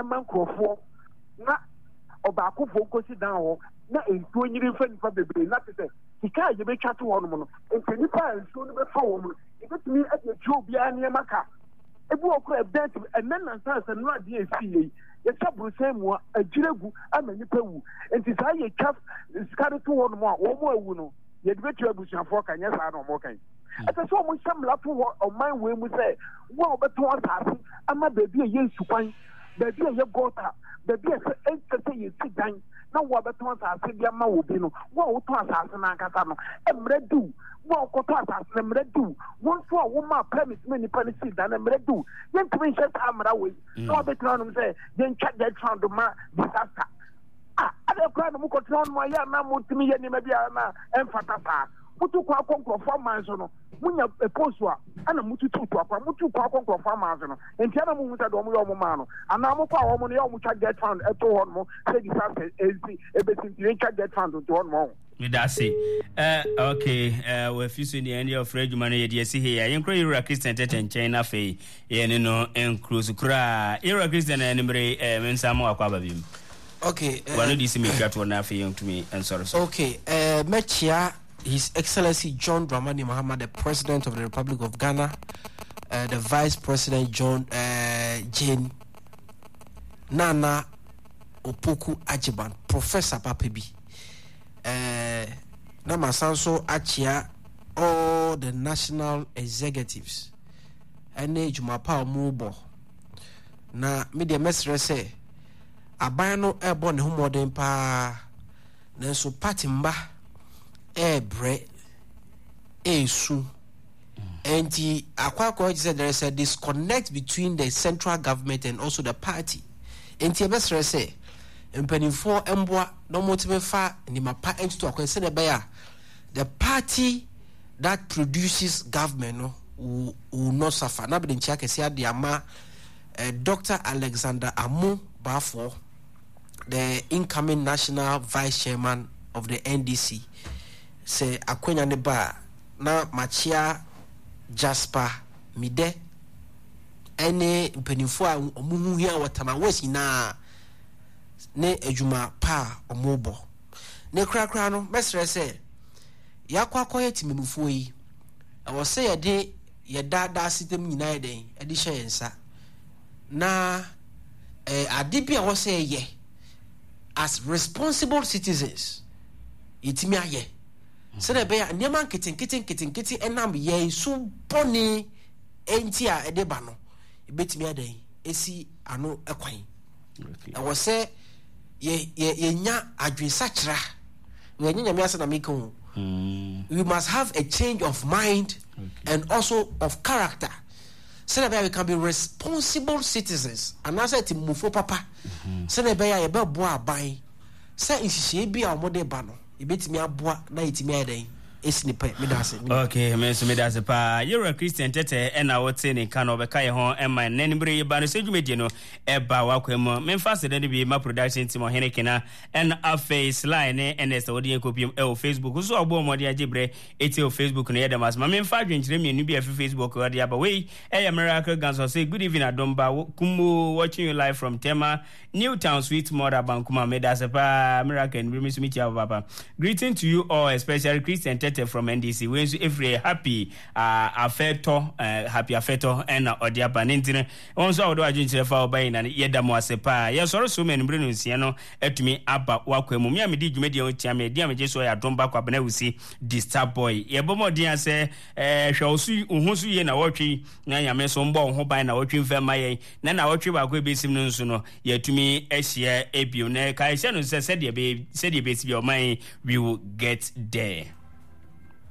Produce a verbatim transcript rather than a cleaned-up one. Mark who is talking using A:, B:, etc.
A: Ɛma nkurɔfoɔ na ɔbaakofoɔ nkosi dan hɔ na nsuo nyiri mfa nipa bebree, na te sɛ sika a yɛbɛtwa to hɔ nom no, nti nipa a nsuo no bɛfa wɔn no, yɛbɛtumi de atua obiara nneɛma ka. Ebi wɔ kora ɛbɛn ti ɛnɛ nansa sɛ nnora adeɛ esi yɛ yi, yɛtwa burusan mu a agyina gu ama nipa wu. Nti saa yɛtwa sika de to hɔ nom a, wɔn awu no, yɛde bɛtua abusuafoɔ ka. Nyɛ saa na wɔn kan? Ɛsɛ sɛ wɔn hyɛ mmara to hɔ ɔman wei mu sɛ wo a wɔbɛtɔn asase ama baabi a ɛyɛ nsukwan, baabi a ɛyɛ gɔta, baabi a ɛsɛ ɛnsɛ sɛ yɛsi dan, na wo a bɛtɔn asase de ama wɔ bi no, wo a wotɔn asase no ankasa no, mmerɛ diw. Wo a wokɔtɔ asase no, mmerɛ diw. Wo nso a woma permit ma nipa no sii dan no, mmerɛ diw. Yɛntumi nhyɛ saa mmara wei na wabɛtena hɔnom sɛ yɛntwa GETFund ma disaster a adɛ koraa na mokɔtena hɔnom ayɛ anaa motumi yɛ nneɛma bi a na ɛmfata saa. Motu kwan akɔ nkurɔfoɔ aman so no, monya post a ɛna motutu to akwan, motu kwan akɔ nkurɔfoɔ aman so no, nti ɛna mohu sɛ deɛ ɔmo yɛ ɔmo maa no anaa mokɔ a ɔmo no yɛ ɔmo twa GETFund ɛto hɔ nom sɛ disaster ɛnsi ɛbɛsi, nti yɛntwa GETFund nto hɔ nom ɔho.
B: Meda ase. uh, okay uh, wafi so deɛ, ɛne ɔfrɛ adwuma no yɛde asi hei a yɛnkora yɛwura Christian Tɛtɛ nkyɛn, na afei yɛne no nkuro so koraa. Yɛwura Christian, animere eh, me nsa ma wakɔ aba bi mu.
C: Okay.
B: Uh, wano de si metwa toɔ na afei yɛntumi nsɔre so.
C: Okay, uh, mɛkyia His Excellency John Dramani Mahama, the President of the Republic of Ghana, uh, the Vice President John uh, Jane Nana Opoku Agyemang, Professor papa bi. Uh, na masan so akyia all the national executives ɛne dwuma pa a wɔrebɔ. Na me deɛ, mɛsrɛ sɛ aban no ɛrebɔ ne ho mmɔden paa, nanso party mba ɛrebrɛ, ɛresu. Nti akɔ akɔ sɛ there is a disconnect between the central government and also the party. Nti ɛbɛsrɛ sɛ mpanimfoɔ mboa na wɔtumi fa nneɛma pa ntutu akwan sɛdeɛ ɛbɛyɛ a the party that produces government no will, will not suffer. Na bɛde nkyia kɛseɛ ade ama uh, Doctor Alexander Amu Baafoɔ, the incoming national vice chairman of the N D C, sɛ akwanya ne ba a. Na makyia Jasper Mide ɛne mpanimfoɔ a wɔn ho hia wɔ Tema West nyinaa ne adwuma pa a wɔrebɔ. Ne korakora no, mɛsrɛ sɛ yɛakɔ akɔyɛ temamufoɔ yi, ɛwɔ sɛ yɛde yɛdaadaa system nyinaa yɛ dɛn ɛde hyɛ yɛn nsa na eh, ade bi a ɛwɔ sɛ yɛyɛ as responsible citizens, yɛtumi ayɛ sɛdeɛ ɛbɛyɛ a nneɛma nketenkete nketenkete ɛnam yɛn so bɔne nti a ɛde ba no, ebɛtumi adan esi ano kwan. Ɛwɔ sɛ yɛ yɛ yɛnya adwensakyera. Wɔnyɛ Nyame ase na meka o. We must have a change of mind okay. and also of character sɛdeɛ ɛbɛyɛ we can be responsible citizens anaasɛ temmufo papa, sɛdeɛ ɛbɛyɛ a yɛbɛboa aban sɛ nhyehyɛe bi a wɔde ba no, yɛbɛtumi aboa na yɛtumi ayɛ dɛn ɛsi ne pɛ. Meda ase.
B: Okay, me nso meda ase paa. Yɛwura Christian Tɛtɛ ɛna wote ne nka no, ɔbɛka yɛ ho ɛma nnɛ no bere yɛba no sɛ dwumadie no ɛba wakwan mu. Memfa aseda no bi ma production team, Ɔhene Kena, ɛna afei Sly ne Ernest a wɔde yɛn kɔpiem ɛwɔ Facebook so a wɔbɔ mmɔden agye berɛ ɛtie wɔ Facebook no. Yɛda mo ase. Ma memfa adwenkyerɛ mmienu bi a ɛfi Facebook wɔde aba. Wei ɛyɛ Miracle Ganso sɛ, "Good evening, Adomba Kumbo, watching you live from Tema Newtown, sweet mother Bankuma." Meda ase paa, Miracle. No bi mi nso mekyia wo papa. "Greeting to you all, especially Christian Tete from N D C." Wei nso ɛfiri Happy uh, Afɛtɔ, uh, Happy Afɛtɔ ɛna ɔde aba ne ntini. Wɔn nso a wɔde adwenkyerɛ fa ɔba nyina no, yɛda mo ase paa. Yɛsɔre so ma anumere no nsia no atumi aba wakwan mu. Me a medi dwumadie ho kyia me adi a megye so yɛ Adom Ba Kwabena Wusi di Star Boy. Yɛbɔ mmɔden a sɛ hwɛ wo so, wo ho so yie na wɔtwe na Nyame so mbɔ wo ho ban na wɔtwe mfa ma yɛn na na wɔtwe baako ebɛsim no nso no, yɛatumi ahyia ebio. Na kae hyɛ no sɛ sɛdeɛ bɛsi bi ɔman, we will get there.